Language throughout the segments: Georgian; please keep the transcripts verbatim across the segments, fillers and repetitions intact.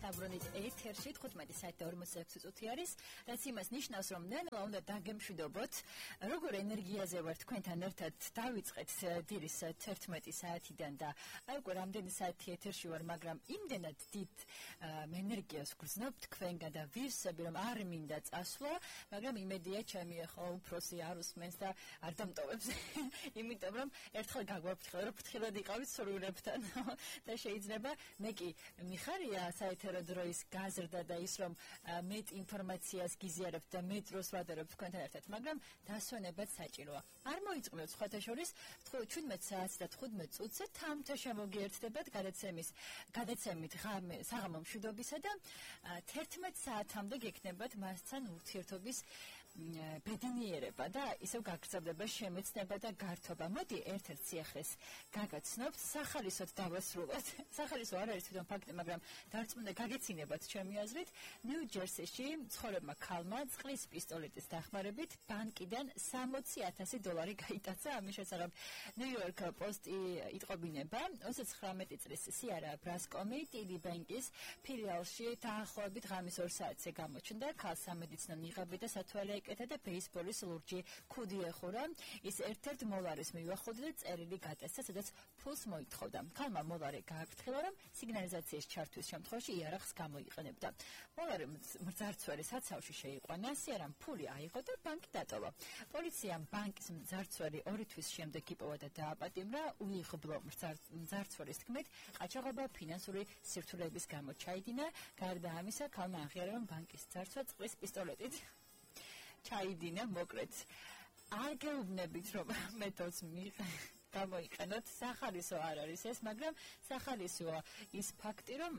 საბრუნით ეთერში თხუთმეტი საათი და ორმოცდაექვსი წუთი არის, რაც იმას ნიშნავს, რომ ნელა უნდა დაგემშვიდობოთ, როგორ ენერგიაზე ვარ თქვენთან ერთად დავიწყეთ დილის თერთმეტი საათიდან და აი უკვე რამდენი საათი ეთერში ვარ, მაგრამ იმდენად დიდ ენერგიას გრძნობ თქვენგან და ვირსები, რომ არ მინდა წასვლა, მაგრამ იმედია ჩემი ახლა უფროსი არ უსმენს და არ დამტოვებს, იმიტომ რომ ერთხელ გაგვაფრთხილე, რომ ფრთხილად იყავით სურვილებთან და შეიძლება მე კი მიხარია საეთერო დროის გაზრდა და ის რომ მეტ ინფორმაციას გიზიარებთ და მეტ დროს ვადარებთ თქვენთან ერთად, მაგრამ დასვენებაც საჭიროა. არ მოიწყმევთ სხვათა შორის ჩვიდმეტ საათს და თხუთმეტ წუთზე თამთა შემოგიერთდებათ გადაცემის გადაცემით საღამო მშვიდობისა და თერთმეტ საათამდე გექნებათ მასთან ურთიერთობის ბედნიერება და ისევ გაგრძელდება შემეცნება და გართობა. მოდი ერთ-ერთ სიახლეს გაგაცნობთ, სახალისოდ დავასრულოთ. სახალისო არ არის თვითონ ფაქტი, მაგრამ დარწმუნდა გაგეცინებათ ჩემი აზრით. ნიუ-ჯერსიში მცხოვრებმა ქალმა წყლის პისტოლეტის დახმარებით ბანკიდან სამოცი ათასი დოლარი გაიტაცა. ამის შესახებ ნიუ-იორკ პოსტი იტყობინება. ოცდათხრამეტი წლის სიარა ბრასკომი ტიდი ბანკის ფილიალში დაახლოებით ღამის ორ საათზე გამოჩნდა. ქალს სამედიცინო ნიღაბი და სათვალე ეკეთა და ბეისბოლის ლურჯი ქუდი ეხურა. ის ერთ-ერთ მოლარის მივახოდა და წერილი გატესა, სადაც ფულს მოითხოვდა. ქალმა მოლარი გააფრთხილა, რომ სიგნალიზაციის ჩართვის შემთხვევაში იარაღს გამოიყენებდა. მოლარი მძარცველი საცავში შეიყვანა, სიარამ ფული აიღო და ბანკი დატოვა. პოლიციამ ბანკის მძარცველი ორი თვის შემდეგ იპოვა და დააპატიმრა. უიღბლო მძარცველის თქმით, ყაჩაღობა ფინანსური სირთულეების გამო ჩაიდინა. გარდა ამისა, ქალმა აღიარა, რომ ბანკის ძარცვა წყლის პისტოლეტით ჩაიდინა. მოკლედ არ გეუბნებით, რომ მეთოდს გამოიყენოთ, სახალისო არ არის ეს, მაგრამ სახალისოა ის ფაქტი, რომ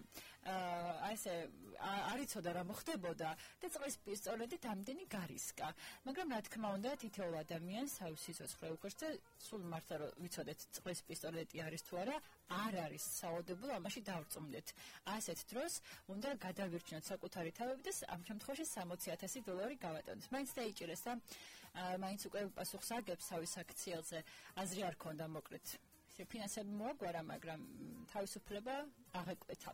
ასე არ იცოდა რა მოხდებოდა და წყლის პისტოლეტით ამდენი გარისკა. მაგრამ რა თქმა უნდა, თითოეულ ადამიანს თავის სიცოცხლე უყვარს და სულ მართლა რომ ვიცოდეთ წყლის პისტოლეტი არის თუ არა, არ არის სავალდებულო, ამაში დავწუნდეთ. ასეთ დროს უნდა გადავირჩინოთ საკუთარი თავები და ამ შემთხვევაში სამოცი ათასი დოლარი გავატონოთ. მაინც დაიჭირეს და მაინც უკვე პასუხს აგებს თავის აქციელზე. აზრი არ ქონდა მოკლედ. ფინანსები მოაგვარა, მაგრამ თავისუფლება აღეკვეთა.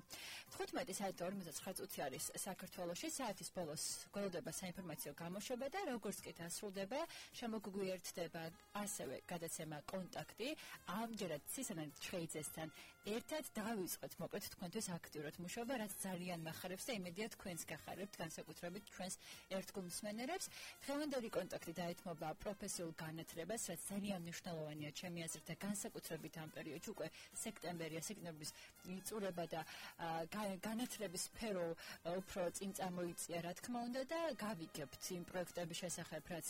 თხუთმეტი საათი და ორმოცდაცხრა წუთი არის საქართველოში. საათის ბოლოს გველოდება საინფორმაციო გამოშვება და როგორც კი დასრულდება, შემოგვიერთდება ასევე გადაცემა კონტაქტი. ამჯერად ცისანან ჩხეიძესთან ერთად დავიწყოთ მოკლედ თქვენთვის აქტიურად მუშაობა, რაც ძალიან მახარებს და იმედია თქვენს გახარებთ, განსაკუთრებით ჩვენს ერთგულ მსმენელებს. დღევანდელი კონტაქტი დაეთმობა პროფესიულ განათლებას, რაც ძალიან მნიშვნელოვანია ჩემი აზრით და განსაკუთრებით ამ პერიოდში უკვე სექტემბერია, სექტემბრის იწურება და განათლების სფერო უფრო წინ წამოიწია, რა თქმა უნდა და გავიგებთ იმ პროექტების შესახებ, რაც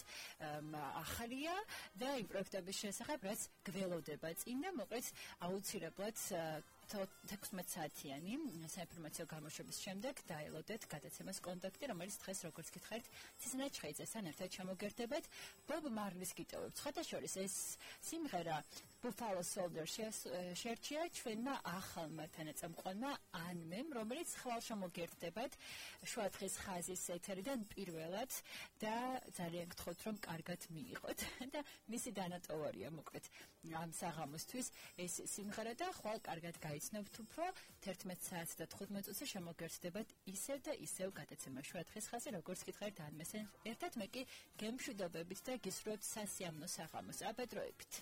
ახალია და იმ პროექტების შესახებ, რაც გველოდება წინ და მოკლედ აუცილებლად თექვსმეტ საათიანი საინფორმაციო გამოშვების შემდეგ დაელოდეთ გადაცემას კონტაქტი, რომელიც დღეს როგორც გითხარით, ცისნა ჩხეიძესთან ერთად შემოგერთებათ. ბობ მარლის გიტოვებთ. სხვათა შორის ეს სიმღერა Buffalo Soldier შერჩია ჩვენმა ახალმა თანაწამყვანმა ანმემ, რომელიც ხვალ შემოგერთდებათ შუადღის ხაზის ეთერიდან პირველად და ძალიან გთხოვთ, რომ კარგად მიიღოთ და მისი დანატოვარია მოკლედ ამ საღამოსთვის ეს სიმღერა და ხვალ კარგად გაიცნობთ უფრო თერთმეტ საათს და თხუთმეტ წუთზე შემოგერთდებათ ისევ და ისევ გადაცემა შუადღის ხაზი, როგორც გითხარით ანმესთან ერთად მე კი გემშვიდობებით და გისურვებთ სასიამოვნო საღამოს. აბედროებით.